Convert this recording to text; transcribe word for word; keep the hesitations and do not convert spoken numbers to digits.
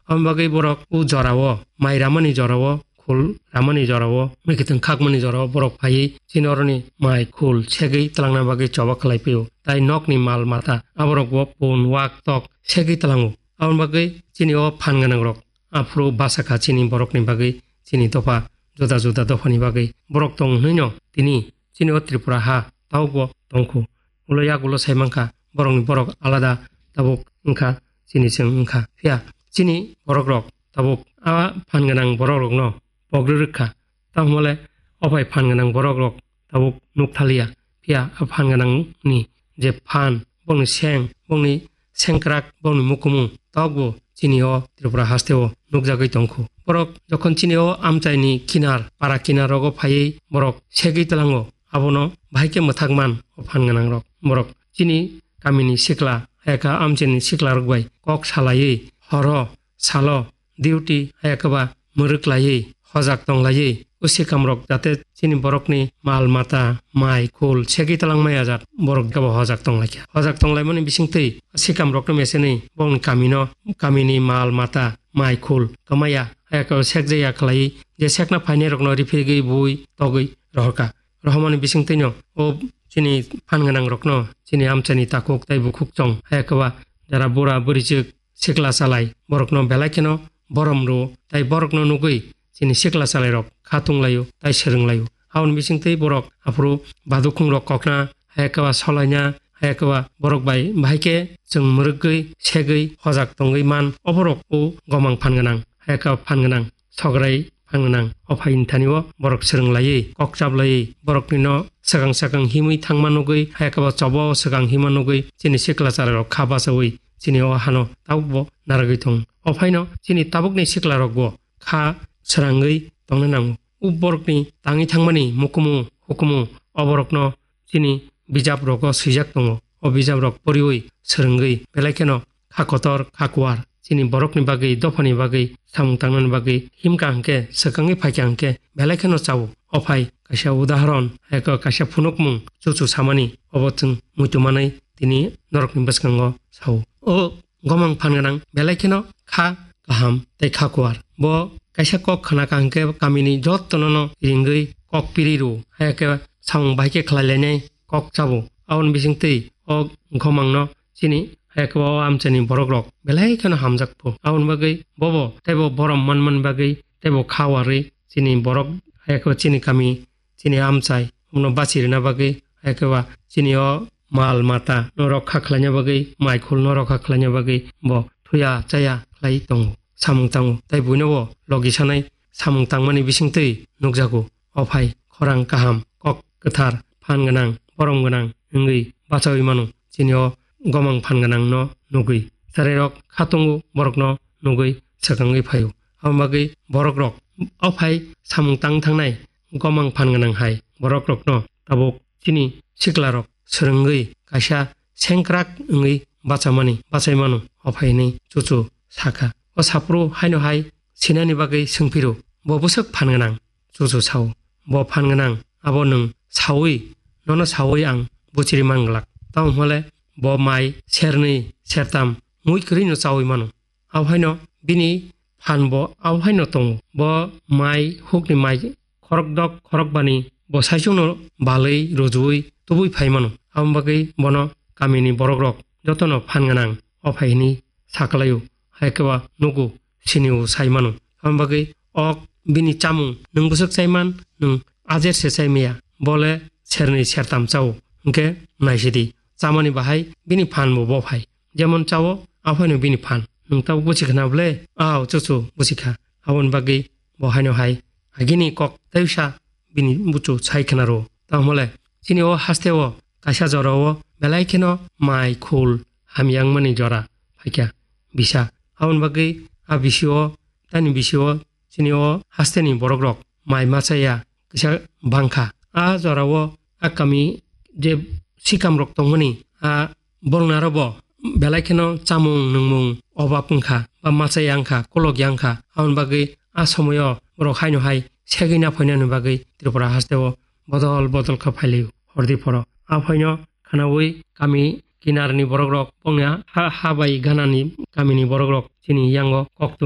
Aboni bagwi borok o jorao, mai ramani jorao, khul ramani jorao, mwkhwtwng khakmani jorao borok phaiwi chini oroni mai khul segwi twlangna bagwi choba khlai phio. Tai nokni mal mata aborokbo pun, wak, tok segwi twlango. Aboni bagwi chini o phan gwnangrok aphuru basa kha chini borokni bagwi, chini dopha juda juda dophani bagwi borok tong hwnwi no tini chini o Tripura ha tabukbo tongkhu. Ulo yak ulo sai mankha, borokni borok alada tabuk wngkha, chini chwng wngkha. Phiya chini borokrok tabuk a phan gwnang borokrokno pogri rwkha. Tamo le o phai phan gwnang borokrok tabuk nuk thaliya. Phiya a phan gwnangni je phan, bongni seng, bongni sengkrak, bongni mukumu tokbo chini o Tripura hasteo nukjagwi tongkhu. Borok jokhon chini o amchaini kinar, para kinarrogo phaiwi borok segwi twlango, abono bahai khe mwthak man o phan gwnangrok. Borok chini kamini sikla, hayakha amchaini siklarok bai kok salaiwi horo, salo, duty, hayakhe ba mwrwk laiwi, hojak tong laiwi, o sikamrok jate chini borokni mal mata, mai, khul, segwi twlangmaya jat, borok kebo hojak tong laikha. Hojak tong laimani bisingtwi sikamrokno mesenwi bongni kamino, kamini mal mata, mai, khul kwmaya, hayakhe sekjaya khlaiwi, je sekna phainairokno riphigwi bui togwi rohorkha. Rohormani bisingtwino o chini phan gwnangrokno, chini amchaini takhuk tei bukhuk chong, hayakhe ba jara bura bwrwichwk, sikla salai borokno belai kheno borom rwo, tai borokno nugwi chini sikla salairok kha tunglaio tai swrwnglaio. Aboni bisingtwi borok aphuru badukhungrok kokna, hayakhe ba solaina, hayakhe ba borok bai bahai khe chwng mwrwkgwi, segwi, hojak tongwi man, oborok o gomang phan gwnang, hayakhe ba phan gwnang. Sograi phan gwnang o phaini thani o borok swrwng laiwi, kok chap laiwi, borokni no swkang swkang himwi thangma nugwi, hayakhe ba choba o swkang hima nugwi, chini sikla chwrairok kha bachaui chini o hano tabukbo naragwi tongo. O phaino chini tabukni siklarokbo kha srangwi tongna nango. O borokni tangwi thangmani mukumu hukumu o borokno chini bijap rogo swijak tongo. O bijap rok poriwi swrwngwi belai kheno kha kotor, kha kuar, chini borokni bagwi, dophani bagwi, samung tangnani bagwi himkha hwnkhe, swkangwi phaikha hwnkhe, belai kheno chao. O phai kaisa udahoron, hai khe kaisa phunukmung chuchu samani, obo chwng muitu manwi tini norokni bwskango sao. O gomang phan gwnang belai kheno kha kaham tei kha kuar. Bo kaisa kok khna kha hwnkhe kamini jottono no ringwi kok piri rw, hai khe samung bai khe khlai lainai kok chabo. Aboni bisingtwi o gomangno chini hai khe o amchaini borokrok belai kheno hamjakpho. Aboni bagwi bobo teibo borom manmani bagwi teibo kha warwi chini borok hai khe chini kami chini amchai, omono bachi rwna bagwi, hai khe ba chini o mal mata no rokha khlaina bagwi, mai khul no rokha khlaina bagwi bo thuya chaya khlai tongo, samung tango, tei buino bo logi sanai samung tangmani bisingtwi nukjago. O phai khorang kaham, kok kwthar, phan gwnang, borom gwnang wngwi bachaui mano, chini o gomang phan gwnang no nugwi. Chwrairok kha tongo, borokno nugwi swkangwi phaio. Aboni bagwi borokrok o phai samung tang thangnai gomang phan gwnang hai borokrokno tabuk chini siklarok swrwngwi kaisa sengkrak wngwi bachamani, bachai mano o phai hwnwi chuchu sakha. O saphuru haino hai sinani bagwi swngphiro, bo bwswk phan gwnang? Chuchu sao, bo phan gwnang, abo nwng saui, nono saui ang buchiri manglak. Tamo hwnle bo mai sernwi sertam mui kwrwino chaui mano. Abohaino bini phan bo abohaino tongo. Bo mai hukni mai khorokdok khorokbani bo saichungno balwi rwjui tubui phai mano. Aboni bagwi bono kamini borokrok jotono phan gwnang o phai hwnwi saklaio, hai khe ba nugo sinio sai mano. Aboni bagwi o bini chamung nwng bwswk chai man, nwng ajer se chai maya, bo le sernwi sertam chao, hwnkhe naisidi, chamani bahai bini phan bo bo phai. Jemon chao, aphaino bini phan. Nwng tabuk buchi khna bole? Ao, chuchu, buchi kha. Aboni bagwi bo haino hai agini kok tei wisa bini buchu sai khna rwo. Tamo le, chini o haste o kaisa jora o belai kheno mai khul hamya wngmani jora phaikha bisa. Aboni bagwi a bisi o, tani bisi o, chini o haste ni borok rok mai ma chaya kisa bangkha. A jora o a kami je sikam rok tongmani a borok naro bo belai kheno chamung nungmung obab wngkha, ba machai yang kha, kolok yang kha. Aboni bagwi a somoyo borok haino hai segwi na phainani bagwi Tripura haste o bodol bodol kha phailio hordi phoro. A phaino khanaui kami kinarni borok rok bongni ha, ha bai ganani kamini borok rok chini yango kok tun